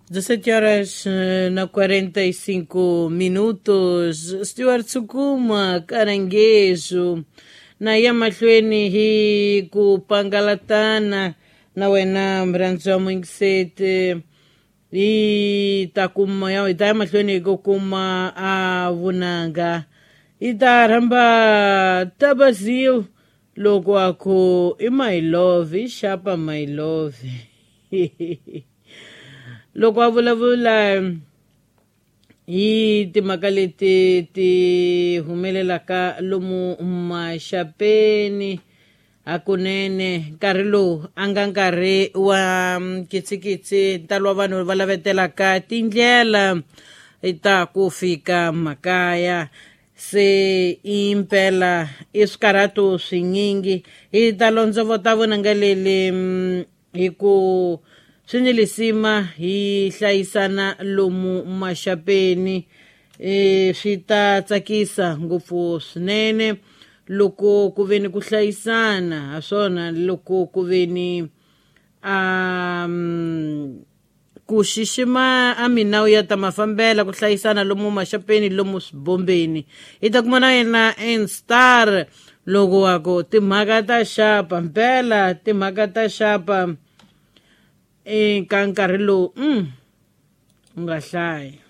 17 horas na 45 minutos. Stuart Sukuma, Caranguejo, na ya mahlweni hi ku pangalatana na wena mrhandzi wa muyingiseti hi ta kuma ya hi ta ya mahlweni hi ku kuma a vunanga hi ta rhamba Tabazil loko a ku i my love i xapa my love loko a vulavula hi timhaka leti ti humelelaka lomu maxapeni hakunene nkarhi lowu a nga nkarhi wa nkitsikitsi ntalo wa vanhu va lavetelaka tindlela ta ku fika makaya se impela i swikarhato swinyingi hi ta londzovota vonanga leli hi ku swi ni lisima hi hlayisana lomu maxapeni swi ta tsakisa ngopfu swinene loko ku ve ni ku hlayisana ha swona loko ku ve ni ku xixima a minawu ya ta mafambela ku hlayisana lomu maxapeni lomu swibombeni hi ta kuma na yena nstar loko wa ku timhaka ta xapa mpela timhaka ta xapa eka nkarhi lowu u nga hlayi.